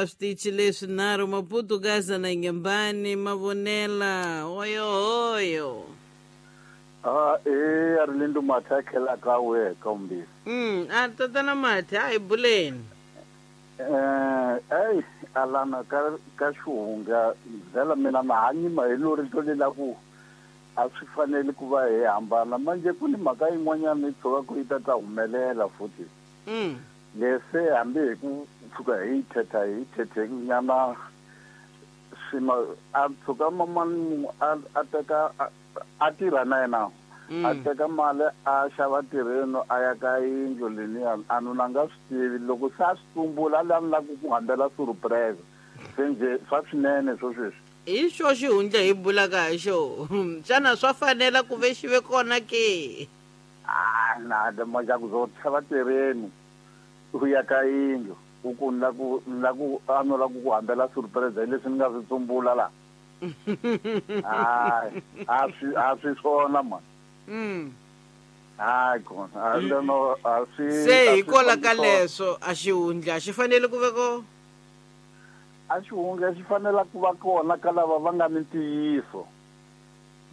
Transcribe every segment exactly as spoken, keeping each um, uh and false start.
Switichi leswinharhu Maputo, Gaza na Inhambane, Mavonela, oyo oyo. Ah, eh, Arlindo Matha ka we ka umbisi. Mm, a tatana Matha, a hi buleni. Eh, ey, alana ka ka xihunga vhela mina na hanyima hi lori to lela ku a swi fanele ku va hi hambana manje ku ni mhaka yin'wanyana yi tshuka ku yi ta ta humelela futhi. Mm. Lese hambi hi ku tshuka hi thetha hi thethe nyana swima a tshuka mamani a a teka a tirha na yena a teka mali a xava tirheni a ya ka yindlu leniya a nuna nga swi tivi loko se a swi tumbula a la ni ku ku hambela surprise se njhe swa swinene swo sweswi. Hi xo xihundla hi bulaka hi xo xana swa fanela ku ve xi ve kona ke? Ah, na majaku zo xava tirheni u ya ka yindlu u ku ni la ku ni la ku a no la ku ku hambela surprise hi leswi ni nga swi tsumbula la. Hayi, a swi a swi swona man. Mm. Hayi kona a no a swi se hikola ka leswo a xihundla xi fanele ku ve ko a xihundla xi fanela ku va kona ka lava va nga ni ntiyiso.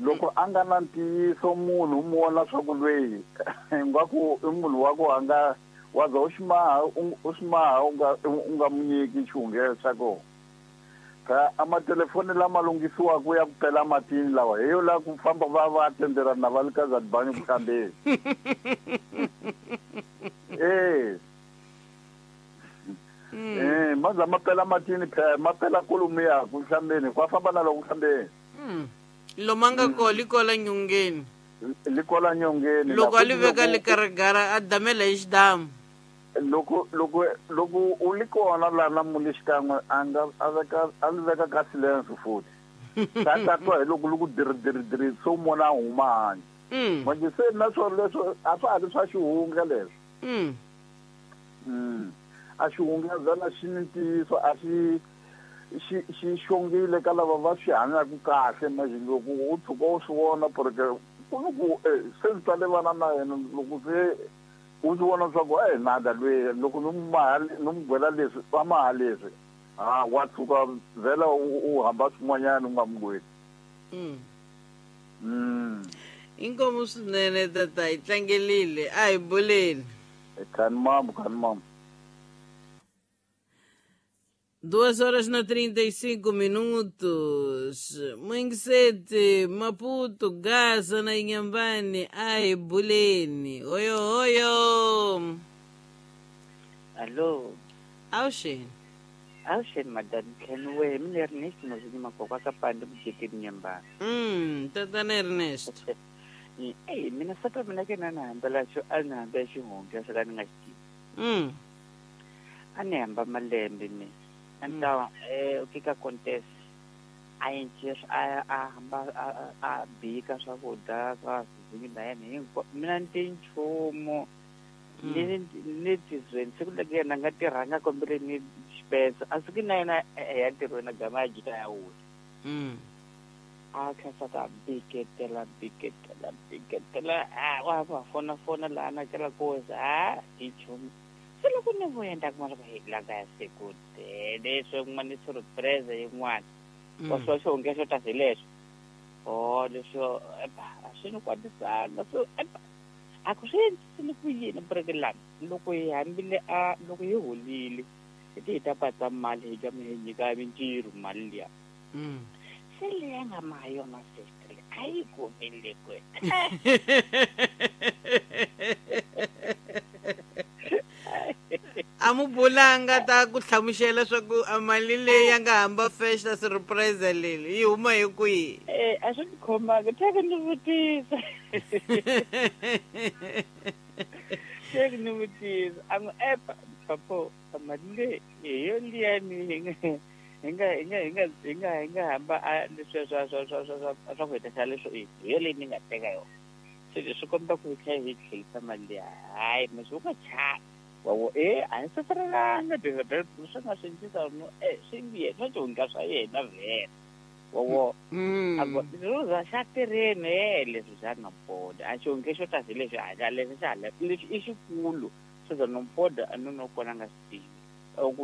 Loko a nga na ntiyiso munhu u mu vona swa ku lweyi ingaku i munhu wa ku a nga wa za u xi maha u xi maha u nga u nga mu nyiki xihundla xa kona. Ka amatelefoni lama lunghisiwaka ya ku pela matini lawa hi yo la ku famba va va tenderana na va le ka Zadibani ku hlambeni. Eh. Eh, maza ma pela matini phela ma pela kolomiya ku hlambeni kwa famba na loko hlambeni. Mm. Lomanga ko likola nyongeni. Likola nyongeni. Loko a li veka le karagara a damela hi xidamu. Loko loko loko u li kona la na muli xikan'we a nga a veka a li veka ka silence futhi. Ta ta twa hi loko loko diri diri diri so mona huma handle. Mm. Manje se na swo leswo a swa ha ri swa xihundla leswo. Mm. Mm. A xihundla vhela xi ni ntiyiso a xi xi xi xongile ka lava va swi hanyaka kahle manje loko u tshuka u swi vona porque ku ni ku se ndzi ta levana na yena loko se u swi vona swa ku eh nada lweyi loko ni mu maha ni mu gwela leswi va maha leswi ha wa tshuka vhela u hamba swin'wanyana u nga mu gweli. Mm. Mm. Inkomu swinene tata hi tlangelile a hi buleni. Khani mambo khani mambo. Duas horas na trinta e cinco minutos. Manguisete, Maputo, Gaza na Inhambane, ai, Bulene. Oyo, oyo. Alô. Auxene. Auxene, madame. Kenwe, mina Ernesto, mas uma coca capanda bujete Inhambane. Hum, tatana Ernesto. Ei, mina sata mina ke nana hambela xo a ni hambela xihundla swo ka ni nga xi tivi. Hum. A ni hamba malembe mina. Então, eh, o que que acontece? A gente a a a a bika swakudya swa vizinyo na yena hinkwavo mina ni ti nchumu ni ni tizweni siku loko yena a nga tirhanga kombele ni xipensa a siku na yena ya ntirhweni a gama ya jika ya wula. A kha ta biketela biketela biketela a wa va fona fona laha na kela koza a ti nchumu. Se loko ni vuya ni ta kuma loko hi langa ya siku leswi yin'wana ni surprise yin'wana wa swa xihundla xo ta hi leswo oh leswo a swi ni kwatisanga so a ku swi endlisile ku yini bureke lani loko hi hambile a loko hi holile hi ti hi ta patsa mali hi gama hi nyika mintirho mali liya se leyi a nga maha yona sister a yi kumile kwe. A mu bulanga ta ku hlamusela swa ku a mali leyi ya nga hamba fresh ta surprise leyi yi huma hi kwihi? Eh, a swi ni khomanga teka ni vutisa. Teka ni vutisa a n'wi epa papo mali leyi hi yo liya ni hi nga hi nga hi nga hi nga hi nga hi nga hamba a leswiya swa swa swa swa swa swa ku hetisa leswo i hi yo leyi ni nga teka yona se leswi komba ku hi tlhela hi tlhelisa mali liya hayi mase u nga chavi. Wawo eh a ni safarelanga swi nga swi endlisa no eh swi yena swa xihundla swa yena vhele wawo a ku roza xa tirheni eh leswi xa nompoda a xihundla xo ta hi leswi a leswi xa leswi i xikulu swo za nompoda a no no kona nga swi tivi ku